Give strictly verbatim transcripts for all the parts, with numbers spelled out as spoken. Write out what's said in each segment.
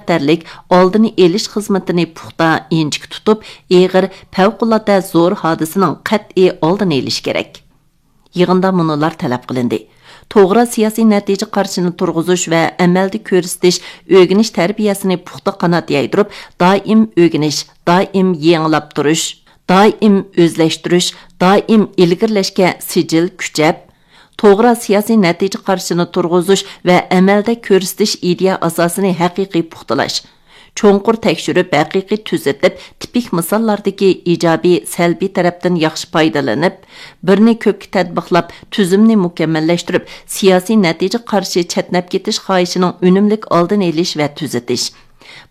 خەتەرلىك ئالدىنى ئېلىش خىزمىتىنى پۇختا، ئىنچىكە تۇتۇپ، ئېغىر، پەۋقۇلئاددە زور ھادىسىنىڭ قەتئىي ئالدىنى ئېلىش كېرەك. يىغىندا مۇنۇلار تەلەپ قىلىندى: توغرا سىياسىي نەتىجە قارىشىنى تۇرغۇزۇش ۋە ئەمەلدە كۆرسىتىش، ئۆگىنىش تەربىيەسىنى پۇختا قانات يايدۇرۇپ، دائىم ئۆگىنىش، دائىم يېڭىلاپ تۇرۇش، دائىم ئۆزلەشتۈرۈش، دائىم ئىلگىرىلەشكە سىجىل كۈچەپ، توغرا سىياسىي نەتىجە قارىشىنى تۇرغۇزۇش ۋە ئەمەلدە كۆرسىتىش ئىدىيە ئاساسىنى ھەقىقىي پۇختىلاش، چوڭقۇر تەكشۈرۈپ، ھەقىقىي تۈزىتىپ، تىپىك مىساللاردىكى ئىجابىي، سەلبىي تەرەپتىن ياخشى پايدىلىنىپ، بىرنى كۆپكە تەتبىقلاپ، تۈزۈمنى مۇكەممەللەشتۈرۈپ، سىياسىي نەتىجە قارىشى چەتنەپ كېتىش خاھىشىنىڭ ئۈنۈملۈك ئالدىنى ئېلىش ۋە تۈزىتىش.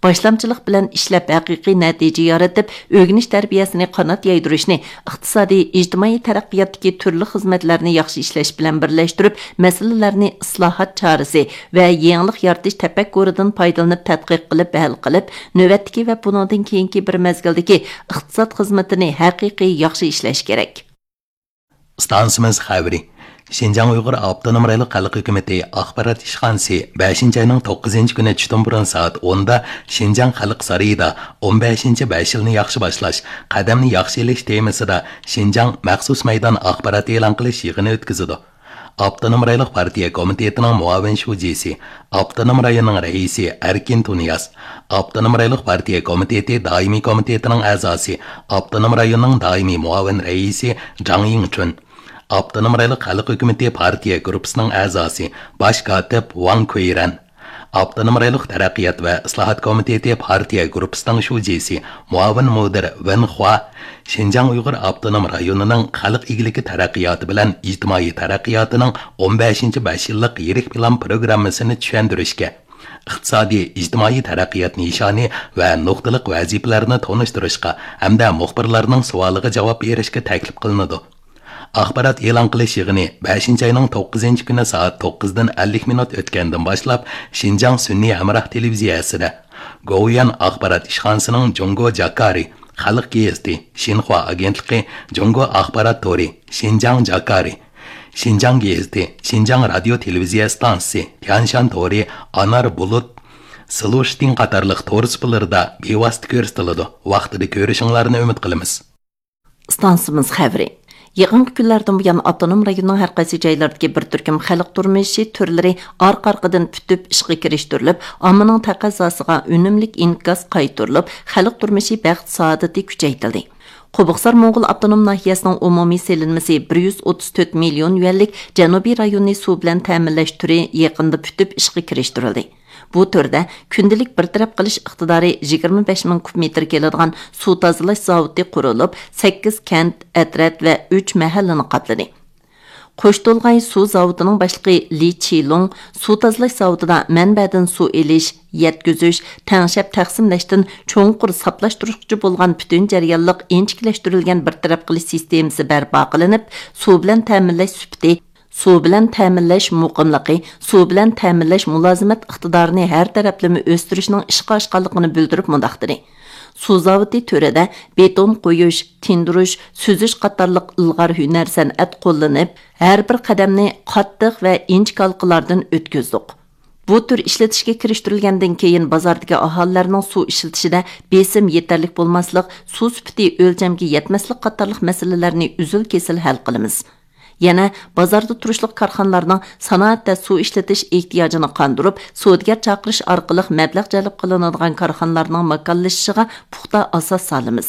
باشلامچىلىق بىلەن ئىشلەپ، ھەقىقىي نەتىجە يارىتىپ، ئۆگىنىش تەربىيەسىنى قانات يايدۇرۇشنى ئىقتىسادىي، ئىجتىمائىي تەرەققىياتتىكى تۈرلۈك خىزمەتلەرنى ياخشى ئىشلەش بىلەن بىرلەشتۈرۈپ، مەسىلىلەرنى ئىسلاھات چارىسى ۋە يېڭىلىق يارىتىش تەپەككۇرىدىن پايدىلىنىپ تەتقىق قىلىپ ھەل قىلىپ، نۆۋەتتىكى ۋە بۇنىڭدىن كېيىنكى بىر مەزگىلدىكى ئىقتىساد خىزمىتىنى ھەقىقىي ياخشى ئىشلەش كېرەك. ئىستانسىمىز خەۋىرى. شىنجاڭ ئۇيغۇر ئاپتونوم رايونلۇق خەلق ھۆكۈمىتى ئاخبارات ئىشخانىسى بەشىنچى ئاينىڭ توققۇزىنچى كۈنى چۈشتىن بۇرۇن سائەت ئوندا شىنجاڭ خەلق سارىيىدا ئون بەشىنچى بەش يىلنى ياخشى باشلاش، قەدەمنى ياخشى ئېلىش تېمىسىدا شىنجاڭ مەخسۇس مەيدان ئاخبارات ئېلان قىلىش يىغىنى ئۆتكۈزىدۇ. ئاپتونوم رايونلۇق پارتىيە كومىتېتىنىڭ مۇئاۋىن شۇجىسى، ئاپتونوم رايوننىڭ رەئىسى ئەركىن تۇنىياز، ئاپتونوم رايونلۇق پارتىيە كومىتېتى دائىمىي كومىتېتىنىڭ ئەزاسى، ئاپتونوم رايوننىڭ دائىمىي مۇئاۋىن رەئىسى جاڭ يىڭچۈن، ئاپتونوم رايونلۇق خەلق ھۆكۈمىتى پارتىيە گۇرۇپپىسىنىڭ ئەزاسى، باش كاتىپ ۋاڭ كۇيرەن، ئاپتونوم رايونلۇق تەرەققىيات ۋە ئىسلاھات كومىتېتى پارتىيە گۇرۇپپىسىنىڭ شۇجىسى، مۇئاۋىن مۇدىر ۋېن خۇا، شىنجاڭ ئۇيغۇر ئاپتونوم رايونىنىڭ خەلق ئىگىلىكى تەرەققىياتى بىلەن ئىجتىمائىي تەرەققىياتىنىڭ ئون بەشىنچى بەش يىللىق يىرىك پىلان پروگراممىسىنى چۈشەندۈرۈشكە، ئىقتىسادىي، ئىجتىمائىي تەرەققىيات نىشانى ۋە نۇقتىلىق ۋەزىپىلەرنى تونۇشتۇرۇشقا ھەمدە مۇخبىرلارنىڭ سوئالىغا جاۋاب بېرىشكە تەكلىپ قىلىنىدۇ. ئاخبارات ئېلان قىلىش يىغىنى بەشىنچى ئاينىڭ توققۇزىنچى كۈنى سائەت توققۇزدىن ئەللىك مىنۇت ئۆتكەندىن باشلاپ شىنجاڭ سۈنئىي ھەمراھ تېلېۋىزىيەسىدە، گوۋۇيۈەن ئاخبارات ئىشخانىسىنىڭ جۇڭگو جاكارى خەلق گېزىتى، شىنخۇا ئاگېنتلىقى، جۇڭگو ئاخبارات تورى، شىنجاڭ جاكارى، شىنجاڭ گېزىتى، شىنجاڭ رادىيو تېلېۋىزىيە ئىستانسىسى، تيەنشان تورى، ئانار بۇلۇت، سلۇشتىن قاتارلىق تور سۇپىلىرىدا بىۋاسىتە كۆرسىتىلىدۇ. ۋاقتىدا كۆرۈشۈڭلارنى ئۈمىد قىلىمىز. ئىستانسىمىز خەۋىرى. يېقىنقى كۈنلەردىن بۇيان، ئاپتونوم رايوننىڭ ھەر قايسى جايلىرىدىكى بىر تۈركۈم خەلق تۇرمۇشى تۈرلىرى ئارقا-ئارقىدىن پۈتۈپ ئىشقا كىرىشتۈرۈلۈپ، ئاممىنىڭ تەقەززاسىغا ئۈنۈملۈك ئىنكاس قايتۇرۇلۇپ، خەلق تۇرمۇشى بەخت-سائادىتى كۈچەيتىلدى. قوبۇقسار موڭغۇل ئاپتونوم ناھىيەسىنىڭ ئومۇمىي سېلىنمىسى بىر يۈز ئوتتۇز تۆت مىليون يۈەنلىك جەنۇبىي رايوننى سۇ بىلەن تەمىنلەش تۈرى يېقىندا پۈتۈپ ئىشقا كىرىشتۈرۈلدى. بۇ تۈردە كۈندىلىك بىر تەرەپ قىلىش ئىقتىدارى يىگىرمە بەش مىڭ كۇب مېتىر كېلىدىغان سۇ تازىلاش زاۋۇتى قۇرۇلۇپ، سەككىز كەنت، ئەترەت ۋە ئۈچ مەھەللىنى قاپلىدى. قوشتولغاي سۇ زاۋۇتىنىڭ باشلىقى لى چىلۇڭ سۇ تازىلاش زاۋۇتىدا مەنبەدىن سۇ ئېلىش، يەتكۈزۈش، تەڭشەپ تەقسىملەشتىن چوڭقۇر ساپلاشتۇرغۇچە بولغان پۈتۈن جەريانلىق ئىنچىكىلەشتۈرۈلگەن بىر تەرەپ قىلىش سىستېمىسى بەرپا قىلىنىپ، سۇ بىلەن تەمىنلەش سۈپىتى، سۇ بىلەن تەمىنلەش مۇقىملىقى، سۇ بىلەن تەمىنلەش مۇلازىمەت ئىقتىدارىنى ھەر تەرەپلىمە ئۆستۈرۈشنىڭ ئىشقا ئاشقانلىقىنى بىلدۈرۈپ مۇنداق دېدى: سۇ زاۋۇتى تۈرىدە بېتون قويۇش، تىندۇرۇش، سۈزۈش قاتارلىق ئىلغار ھۈنەر سەنئەت قوللىنىپ، ھەر بىر قەدەمنى قاتتىق ۋە ئىنچىكە ھالقىلاردىن ئۆتكۈزدۇق. بۇ تۈر ئىشلىتىشكە كىرىشتۈرۈلگەندىن كېيىن، بازاردىكى ئاھالىلەرنىڭ سۇ ئىشلىتىشىدە بېسىم يېتەرلىك بولماسلىق، سۇ سۈپىتى ئۆلچەمگە يەتمەسلىك قاتارلىق مەسىلىلەرنى ئۈزۈل-كېسىل ھەل قىلىمىز. يەنە بازاردا تۇرۇشلۇق كارخانىلارنىڭ سانائەتتە سۇ ئىشلىتىش ئېھتىياجىنى قاندۇرۇپ، سودىگەر چاقىرىش ئارقىلىق مەبلەغ جەلپ قىلىنىدىغان كارخانىلارنىڭ ماكانلىشىشىغا پۇختا ئاساس سالىمىز.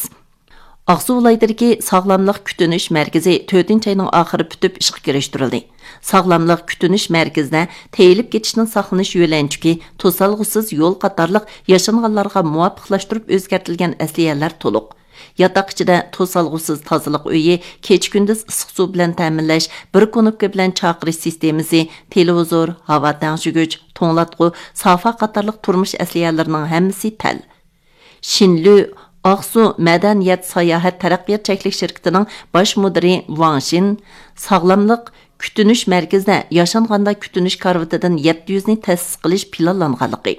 ئاقسۇ ۋىلايىتىدىكى ساغلاملىق كۈتۈنۈش مەركىزى تۆتىنچى ئاينىڭ ئاخىرى پۈتۈپ ئىشقا كىرىشتۈرۈلدى. ساغلاملىق كۈتۈنۈش مەركىزىدە تېيىلىپ كېتىشتىن ساقلىنىش يۆلەنچۈكى، توسالغۇسىز يول قاتارلىق ياشانغانلارغا مۇۋاپىقلاشتۇرۇپ ئۆزگەرتىلگەن ئەسلىھەلەر تولۇق. ياتاق ئىچىدە توسالغۇسىز تازىلىق ئۆيى، كېچە-كۈندۈز ئىسسىق سۇ بىلەن تەمىنلەش، بىر كۇنۇپكا بىلەن چاقىرىش سىستېمىسى، تېلېۋىزور، ھاۋا تەڭشىگۈچ، توڭلاتقۇ، سافا قاتارلىق تۇرمۇش ئەسلىھەلىرىنىڭ ھەممىسى تەل. شىنلۈ ئاقسۇ مەدەنىيەت ساياھەت تەرەققىيات چەكلىك شىركىتىنىڭ باش مۇدىرى ۋاڭ شىن ساغلاملىق كۈتۈنۈش مەركىزىدە ياشانغاندا كۈتۈنۈش كارىۋىتىدىن يەتتە يۈزنى تەسىس قىلىش پىلانلانغانلىقى،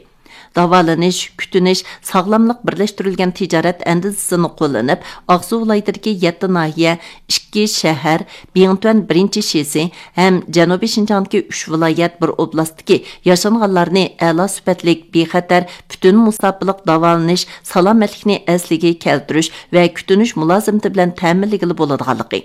داۋالىنىش، كۈتۈنۈش، ساغلاملىق بىرلەشتۈرۈلگەن تىجارەت ئەندىزىسىنى قوللىنىپ، ئاقسۇ ۋىلايىتىدىكى يەتتە ناھىيە، ئىككى شەھەر، بىڭتۈەن بىرىنچى شىسى ھەم جەنۇبىي شىنجاڭدىكى ئۈچ ۋىلايەت، بىر ئوبلاستتىكى ياشانغانلارنى ئەلا سۈپەتلىك، بىخەتەر، پۈتۈن مۇساپىلىق داۋالىنىش، سالامەتلىكنى ئەسلىگە كەلتۈرۈش ۋە كۈتۈنۈش مۇلازىمىتى بىلەن تەمىنلىگىلى بولىدىغانلىقى،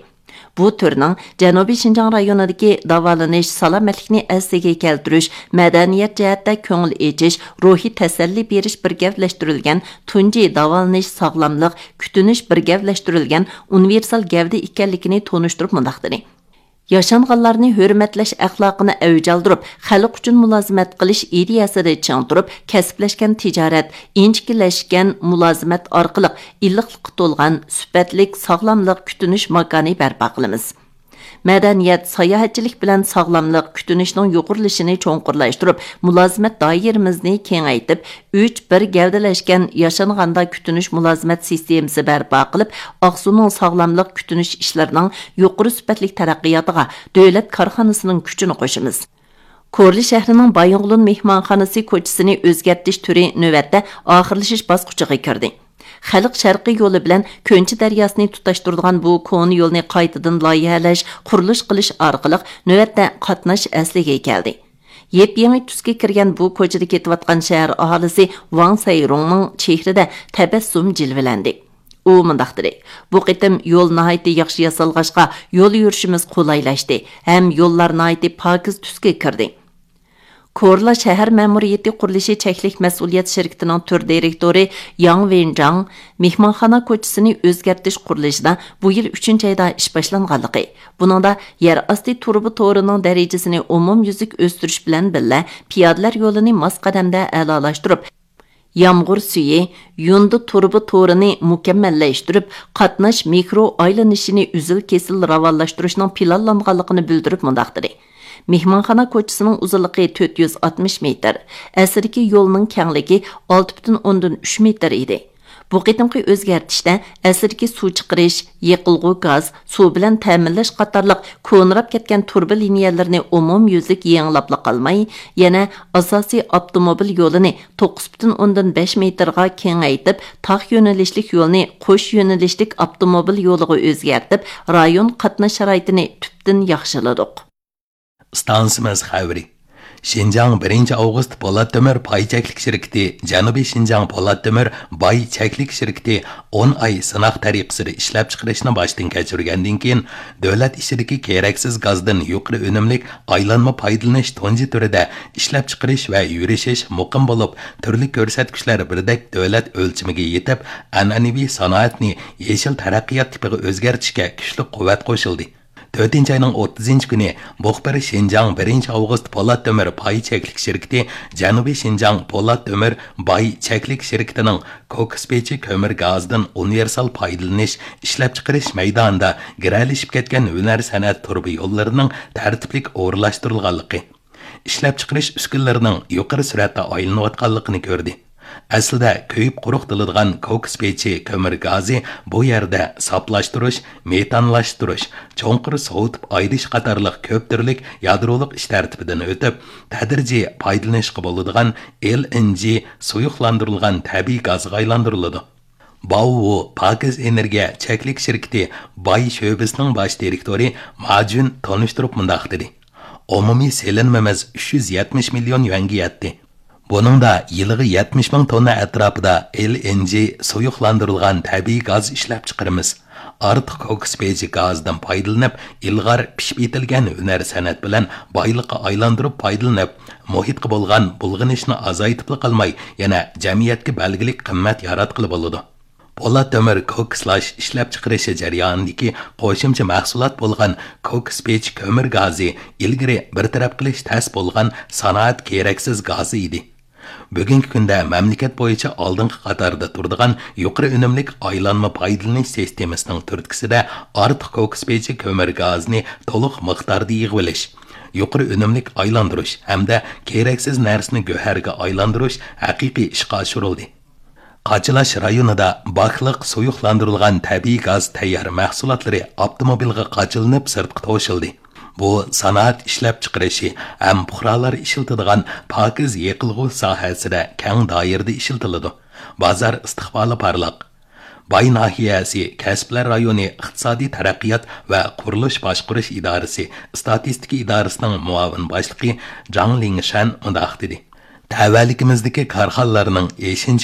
بۇ تۈرنىڭ جەنۇبىي شىنجاڭ رايونىدىكى داۋالىنىش، سالامەتلىكنى ئەسلىگە كەلتۈرۈش، مەدەنىيەت جەھەتتە كۆڭۈل ئېچىش، روھىي تەسەللى بېرىش بىر گەۋدىلەشتۈرۈلگەن تۇنجى داۋالىنىش، ساغلاملىق، كۈتۈنۈش بىر گەۋدىلەشتۈرۈلگەن ئۇنىۋېرسال گەۋدە ئىكەنلىكىنى تونۇشتۇرۇپ مۇنداق دېدى: ياشانغانلارنى ھۆرمەتلەش ئەخلاقىنى ئەۋج ئالدۇرۇپ، خەلق ئۈچۈن مۇلازىمەت قىلىش ئىدىيەسىدە چىڭ تۇرۇپ، كەسىپلەشكەن تىجارەت، ئىنچىكىلەشكەن مۇلازىمەت ئارقىلىق ئىللىقلىققا تولغان سۈپەتلىك ساغلاملىق كۈتۈنۈش ماكانى بەرپا قىلىمىز. مەدەنىيەت، ساياھەتچىلىك بىلەن ساغلاملىق كۈتۈنۈشنىڭ يۇغۇرۇلۇشىنى چوڭقۇرلاشتۇرۇپ، مۇلازىمەت دائىرىمىزنى كېڭەيتىپ، ئۈچ بىر گەۋدىلەشكەن ياشانغاندا كۈتۈنۈش مۇلازىمەت سىستېمىسى بەرپا قىلىپ، ئاقسۇنىڭ ساغلاملىق كۈتۈنۈش ئىشلىرىنىڭ يۇقىرى سۈپەتلىك تەرەققىياتىغا دۆلەت كارخانىسىنىڭ كۈچىنى قوشىمىز. كورلا شەھىرىنىڭ بايىنغولىن مېھمانخانىسى كوچىسىنى ئۆزگەرتىش تۈرى نۆۋەتتە ئاخىرلىشىش باسقۇچىغا كىردى. خەلق شەرقىي يولى بىلەن كۆنچى دەرياسىنى تۇتاشتۇرىدىغان بۇ كونا يولنى قايتىدىن لايىھەلەش، قۇرۇلۇش قىلىش ئارقىلىق نۆۋەتتە قاتناش ئەسلىگە كەلدى. يېپيېڭى تۈسكە كىرگەن بۇ كوچىدا كېتىۋاتقان شەھەر ئاھالىسى ۋاڭ سەيرۇڭنىڭ چېھرىدە تەبەسسۇم جىلۋىلەندى. ئۇ مۇنداق دېدى: بۇ قېتىم يول ناھايىتى ياخشى ياسالغاچقا، يول يۈرۈشىمىز قولايلاشتى ھەم يوللار ناھايىتى پاكىز تۈسكە كىردى. كورلا شەھەر مەمۇرىيىتى قۇرۇلۇشى چەكلىك مەسئۇلىيەت شىركىتىنىڭ تۈر دىرېكتورى ياڭ ۋېنجاڭ مېھمانخانا كوچىسىنى ئۆزگەرتىش قۇرۇلۇشىدا بۇ يىل ئۈچىنچى ئايدا ئىش باشلانغانلىقى، بۇنىڭدا يەر ئاستى تۇرۇبا تورىنىڭ دەرىجىسىنى ئومۇميۈزلۈك ئۆستۈرۈش بىلەن بىللە، پىيادىلەر يولىنى ماس قەدەمدە ئەلالاشتۇرۇپ، يامغۇر سۈيى، يۇندى تۇرۇبا تورىنى مۇكەممەللەشتۈرۈپ، قاتناش مىكرو ئايلىنىشىنى ئۈزۈل-كېسىل راۋانلاشتۇرۇشنىڭ پىلانلانغانلىقىنى بىلدۈرۈپ مۇنداق دېدى: مېھمانخانا كوچىسىنىڭ ئۇزۇنلۇقى تۆت يۈز ئاتمىش مېتىر، ئەسلىدىكى يولنىڭ كەڭلىكى ئالتە پۈتۈن ئوندىن ئۈچ مېتىر ئىدى. بۇ قېتىمقى ئۆزگەرتىشتە ئەسلىدىكى سۇ چىقىرىش، يېقىلغۇ گاز، سۇ بىلەن تەمىنلەش قاتارلىق كونىراپ كەتكەن تۇرۇبا لىنىيەلىرىنى ئومۇميۈزلۈك يېڭىلاپلا قالماي، يەنە ئاساسىي ئاپتوموبىل يولىنى توققۇز پۈتۈن ئوندىن بەش مېتىرغا كېڭەيتىپ، تاق يۆنىلىشلىك يولنى قوش يۆنىلىشلىك ئاپتوموبىل يولىغا ئۆزگەرتىپ، رايون قاتناش شارائىتىنى تۈپتىن ياخشىلىدۇق. ئىستانسىمىز خەۋىرى. شىنجاڭ بىرىنچى ئاۋغۇست پولات تۆمۈر پاي چەكلىك شىركىتى جەنۇبىي شىنجاڭ پولات تۆمۈر باي چەكلىك شىركىتى ئون ئاي سىناق تەرىقىسىدە ئىشلەپچىقىرىشنى باشتىن كەچۈرگەندىن كېيىن، دۆلەت ئىچىدىكى كېرەكسىز گازدىن يۇقىرى ئۈنۈملۈك ئايلانما پايدىلىنىش تۇنجى تۈرىدە ئىشلەپچىقىرىش ۋە يۈرۈشۈش مۇقىم بولۇپ، تۈرلۈك كۆرسەتكۈچلەر بىردەك دۆلەت ئۆلچىمىگە يېتىپ، ئەنئەنىۋى سانائەتنى يېشىل تەرەققىيات تىپىغا ئۆزگەرتىشكە كۈچلۈك قۇۋۋەت قوشۇلدى. تۆتىنچى ئاينىڭ ئوتتۇزىنچى كۈنى مۇخبىر شىنجاڭ بىرىنچى ئاۋغۇست پولات تۆمۈر پاي چەكلىك شىركىتى جەنۇبىي شىنجاڭ پولات تۆمۈر باي چەكلىك شىركىتىنىڭ كوكۇس پېچى كۆمۈر گازىدىن ئۇنىۋېرسال پايدىلىنىش ئىشلەپچىقىرىش مەيدانىدا گىرەلىشىپ كەتكەن ھۈنەر سەنئەت تۇرۇبا يوللىرىنىڭ تەرتىپلىك ئورۇنلاشتۇرۇلغانلىقى، ئىشلەپچىقىرىش ئۈسكۈنىلىرىنىڭ يۇقىرى سۈرئەتتە ئايلىنىۋاتقانلىقىنى كۆردى. ئەسلىدە كۆيۈپ قۇرۇقتىلىدىغان كوكۇس پېچى كۆمۈر گازى بۇ يەردە ساپلاشتۇرۇش، مېتانلاشتۇرۇش، چوڭقۇر سوۋۇتۇپ ئايرىش قاتارلىق كۆپ تۈرلۈك يادرولۇق ئىش تەرتىپىدىن ئۆتۈپ، تەدرىجىي پايدىلىنىشقا بولىدىغان ئېل ئېن جى سۇيۇقلاندۇرۇلغان تەبىئىي گازغا ئايلاندۇرۇلىدۇ. باۋۋۇ پاكىز ئېنېرگىيە چەكلىك شىركىتى باي شۆبىسىنىڭ باش دىرېكتورى ما جۈن تونۇشتۇرۇپ مۇنداق دېدى: ئومۇمىي سېلىنمىمىز ئۈچ يۈز يەتمىش مىليون يۈەنگە يەتتى. بۇنىڭدا يىلىغا يەتمىش مىڭ توننا ئەتراپىدا ئېل ئېن جى سۇيۇقلاندۇرۇلغان تەبىئىي گاز ئىشلەپچىقىرىمىز. ئارتۇق كوكۇس پېچى گازىدىن پايدىلىنىپ، ئىلغار پىشىپ يېتىلگەن ھۈنەر سەنئەت بىلەن بايلىققا ئايلاندۇرۇپ پايدىلىنىپ، مۇھىتقا بولغان بۇلغىنىشنى ئازايتىپلا قالماي، يەنە جەمئىيەتكە بەلگىلىك قىممەت ياراتقىلى بولىدۇ. پولات تۆمۈر كوكۇسلاش ئىشلەپچىقىرىشى جەريانىدىكى قوشۇمچە مەھسۇلات بولغان كوكۇس پېچى كۆمۈر گازى ئىلگىرى بىر تەرەپ قىلىش تەس بولغان سانائەت كېرەكسىز گازى ئىدى. بۈگۈنكى كۈندە مەملىكەت بويىچە ئالدىنقى قاتاردا تۇرىدىغان يۇقىرى ئۈنۈملۈك ئايلانما پايدىلىنىش سىستېمىسىنىڭ تۈرتكىسىدە ئارتۇق كوكۇس پېچى كۆمۈر گازىنى تولۇق مىقداردا يىغىۋېلىش، يۇقىرى ئۈنۈملۈك ئايلاندۇرۇش ھەمدە كېرەكسىز نەرسىنى گۆھەرگە ئايلاندۇرۇش ھەقىقىي ئىشقا ئاشۇرۇلدى. قاچىلاش رايونىدا باكلىق سۇيۇقلاندۇرۇلغان تەبىئىي گاز تەييار مەھسۇلاتلىرى ئاپتوموبىلغا قاچىلىنىپ سىرتقا توشۇلدى. بۇ سانائەت ئىشلەپچىقىرىشى ھەم پۇقرالار ئىشلىتىدىغان پاكىز يېقىلغۇ ساھەسىدە كەڭ دائىرىدە ئىشلىتىلىدۇ. بازار ئىستىقبالى پارلاق. باي ناھىيەسى كەسىپلەر رايونى ئىقتىسادىي تەرەققىيات ۋە قۇرۇلۇش باشقۇرۇش ئىدارىسى ئىستاتىستىكا ئىدارىسىنىڭ مۇئاۋىن باشلىقى جاڭ لىڭشەن مۇنداق دېدى: تەۋەلىكىمىزدىكى كارخانىلارنىڭ ئېشىنچا